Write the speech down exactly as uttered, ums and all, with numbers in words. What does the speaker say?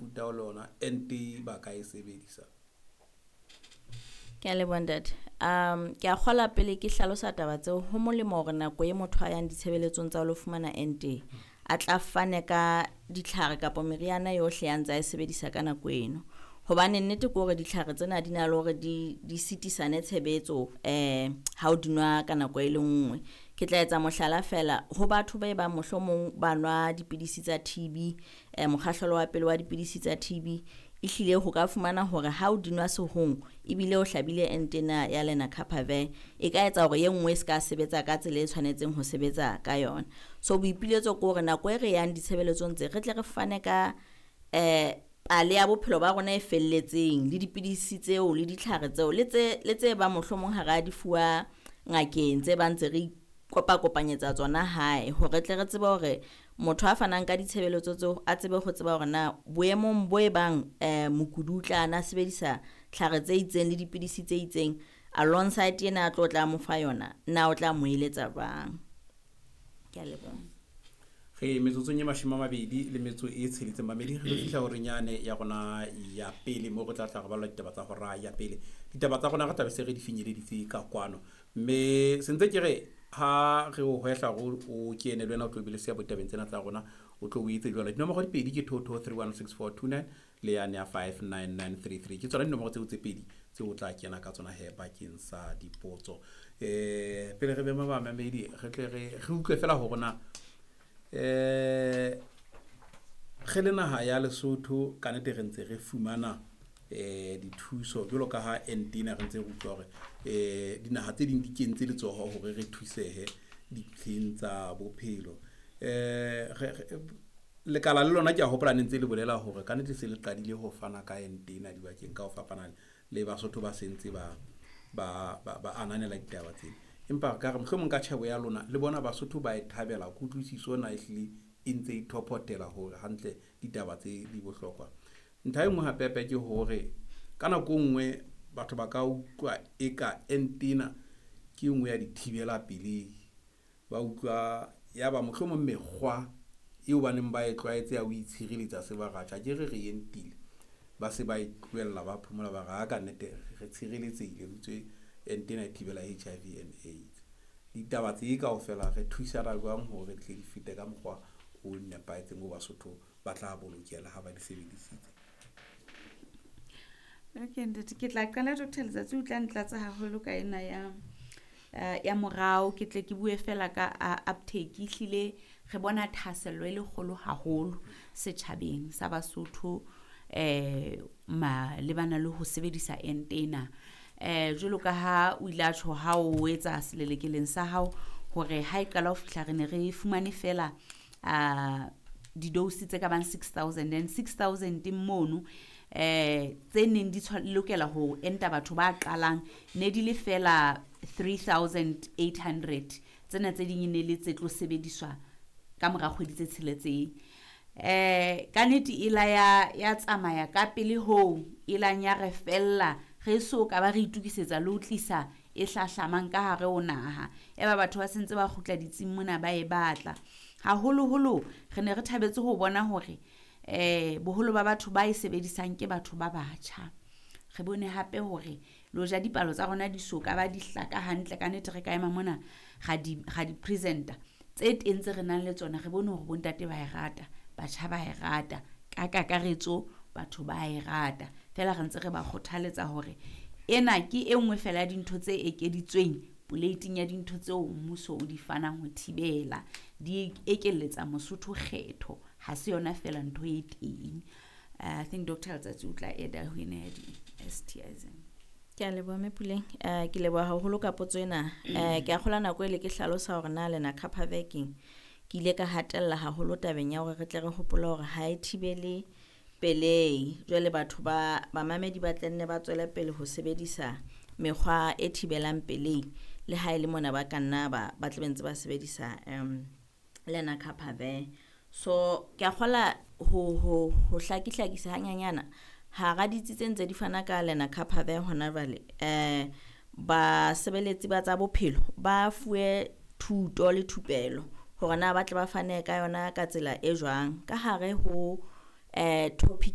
mofuta o le ona ente ba ka e sebedisa? Ke a leboha ntate. Um ke a kgola pele ke hlalosa taba tseo ho molemo hore nako e motho a yang ditshebeletsong tsa ho lo fumana ente a tla fane ka ditlhare kapa meriana yohle ya ntse a e sebedisa ka nako eno. Hobane nnete ke hore ditlhare tsena di na le hore di di sitisane tshebetso eh ha o di nwa ka nako e le nngwe. Ke tla etsa mohlala fela ho batho ba e bang mohlomong ba nwa dipidisi tsa T B, eh mokgahlelo wa pele wa dipidisi tsa T B, ehlile ho ka fumana hore ha o di nwa sehong ebile o hlabile ente ena ya lenacapavir, e ka etsa hore e nngwe e se ka sebetsa ka tsela e tshwanetseng ho sebetsa ka yona. So boipiletso ke hore nako e re yang ditshebeletsong tse re tle re fane ka eh pale ya bophelo ba rona e felletseng le dipidisi tseo le ditlhare tseo le tse le tse bang mohlomong ha ra di fuwa ngakeng tse bang ntse re kopakopanyetsa tsona hae hore tle re tsebe hore motho a fanang ka ditshebeletso tseo a tsebe ho tseba hore na boemong bo e bang eh mokudi o tla na sebedisa tlhare tse itseng le dipidisi tse itseng alongside ena a tlo tla mo fa yona, na o tla mo eletsa jwang. Ke a leboha. Re metsotsong e mashome a mabedi le metso e tsheletseng mamedi, re lo fihla horeng yane ya rona ya pele moo re tla tla re balla ditaba tsa hora ya pele. Ditaba tsa rona re tlabe se re di finyeleditse ka kwano, mme sentse ke re ha re o hwehla hore o kene le wena o tlo be le seabo ditabeng tsena tsa rona, o tlo o etse jwalo. Dinomoro di pedi ke two two three one six four two nine le yane ya five nine nine three three, ke tsona dinomoro tseo tse pedi tseo o tla kena ka tsona he bakeng sa dipotso. um pele re be bamamedi, re tle re re utlwe fela hore na eh re le naha ya Lesotho ka nnete re ntse re fumana eh dithuso jwalo ka ha ente ena re ntse re utlwa hore eh dinaha tse ding di kentse letsoho hore re thusehe dintlheng tsa bophelo. eh Lekala le lona ke a hopola ne ntse le bolela hore ka nnete se le qadile ho fana ka ente ena dibakeng ka ho fapana le Basotho ba sentse ba ba ba ananela ditaba tsena. Empa ka re mohlomong ka tjhebo ya lona le bona Basotho ba e thabela kutlwisiso na ehlile e ntse e thophotela hore hantle ditaba tse di bohlokwa. Ntlha e nngwe hape hape ke hore ka nako e nngwe batho ba ka utlwa eka ente ena ke e nngwe ya dithibela pelehi, ba utlwa ya ba mohlomong mekgwa eo ba neng ba e tlwaetse ya ho itshireletsa se ba ratjha ke re re entile, ba se ba e tlohella, ba phomola, ba re ha ka nnete re tshireletsehile ho itswe ente ena e thibela H I V and AIDS. Ditaba tse kaofela re thusana jwang hore di tle di fete ka mokgwa o nepahetseng o Basotho ba tla bolokela ha ba di sebedisitse? Okay ntate, ke tla qala. Doctor Letsatsi o tla ntlatsa haholo ka ena ya eh, ya morao. Ke tle ke bue fela ka uh, uptake. Ehlile re bona thahasello e le kgolo haholo setjhabeng sa Basotho eh malebana le ho sebedisa ente ena. eh jwalo ka ha o ile a tjho ha o etsa selelekeleng sa hao hore ha e qala ho fihla re ne re fumane fela uh, di-dose tse ka bang six thousand and six thousand mono eh tse neng di lokela ho enta batho ba qalang ne di le fela three thousand eight hundred. Tsena tse ding e ne le tse tlo sebediswa ka mora kgwedi tse tsheletseng. eh ka nnete e la ya ya tsamaya ka pele hoo e lang ya re fella re so ka ba re itukisetsa le ho tlisa e hlahlamang ka hare ho naha. Eba batho ba sentse ba kgutla ditsing mona ba e batla haholoholo. Re ne re thabetse ho bona hore eh boholo ba batho ba e sebedisang ke batho ba batjha. Re bone hape hore le hoja dipalo tsa rona di so ka ba di hlaka hantle, ka nnete re ka ema mona ra di ra di presenta tse teng tse re nang le tsona, re bone hore bontate ba e rata, batjha ba e rata, ka kakaretso batho ba e rata. Fela re ntse re ba kgothaletsa hore ena ke e nngwe fela ya dintho tse ekeditsweng poleiting ya dintho tseo mmuso o di fanang ho thibela. Di ekelletsa Mosotho kgetho, ha se yona fela ntho e teng. I think Doctor Letsatsi o tla eda ho ena ya di-S T Is. Ke a leboha mme Puleng. um ke leboha haholo ka potso ena. um ke a kgolwa nako ele ke hlalosa hore na lenacapavir keng, ke ile ka hatella haholo tabeng ya hore re tle re hopole hore ha e thibele pelehi. Jwale batho ba bamamedi ba tle nne ba tswele pele ho sebedisa mekgwa e thibelang pelehi le ha e le mona ba ka nna ba ba tla be ntse ba sebedisa um lenacapavir. So ke a kgola ho ho ho hlakihlakisa hanyanyana hara ditsi tse ntse di fana ka lenacapavir hona jwale, um basebeletsi ba tsa bophelo ba fuwe thuto le thupelo hore na ba tle ba fane ka yona ka tsela e jwang ka hare ho eh topic.